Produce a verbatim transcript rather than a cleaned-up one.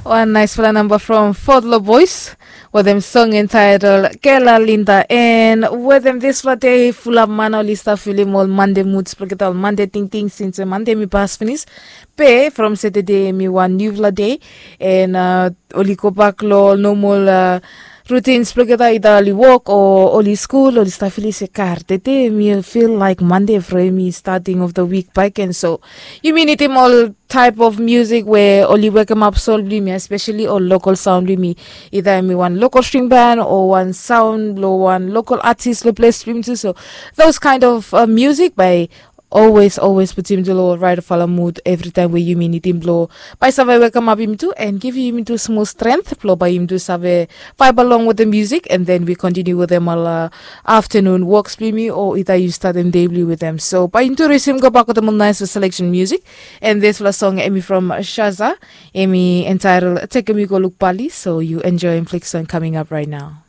Wan naispela namba from Fodlo Boys wetem song entitled Kela Linda. And wetem dispela dei fulap man oli stap filim ol Monday moods blong olgeta, ol Monday tingting, since Monday mi pas finis. Be from Saturday mi wan niufala dei, and uh, oli go bak long ol normal uh, routines blong olgeta, either oli wok o oli skul, oli stap filim se kar tede mi feel like Monday from mi starting of the week back. And so yumi nidim ol type of music we oli wekemap soul blong yumi, especially ol local sound blong yumi. Either mi wan local string band o wan sound blong wan local artist long ples blong yumi tu. So those kind of uh, music by always always putim tu long right fala mood every time we yumi nidim blong bai save wekemap yumi tu and givim yumi tu small strength blong bai yumi tu save vibe along with the music, and then we continue with them all uh, afternoon walks blong yumi, o either you start them daily with them. So bai yumi tu resume go back with them nice selection music. And this last song emi from Shaza, emi entitled Take Me Go Look Bali. So you enjoy and flick song coming up right now.